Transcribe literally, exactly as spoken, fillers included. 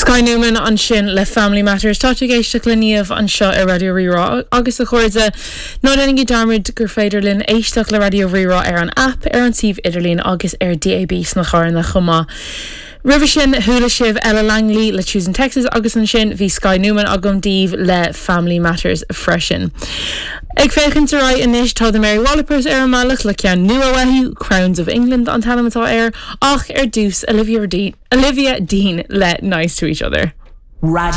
Sky Newman ansin le Family Matters tá ag éisteacht le Niamh anseo ar Raidió Rí-Rá agus a chairde ná déanaigí dearmad gur féidir linn éisteacht le Raidió Rí-Rá ar an app ar an suíomh idirlín agus ar DAB sna carranna chomh maith. Roimhe sin chuala sibh Ella Langley le Choosing Texas agus ansin bhí Sky Newman agam daoibh le Family Matters freisin. Ag féachaint ar aghaidh anois tá the Mary Wallopers ar an mbealach le ceann nua uathu Crowns of England an t-ainm atá air ach ar dtús Olivia Dean, Olivia Dean le Nice to each other. Radio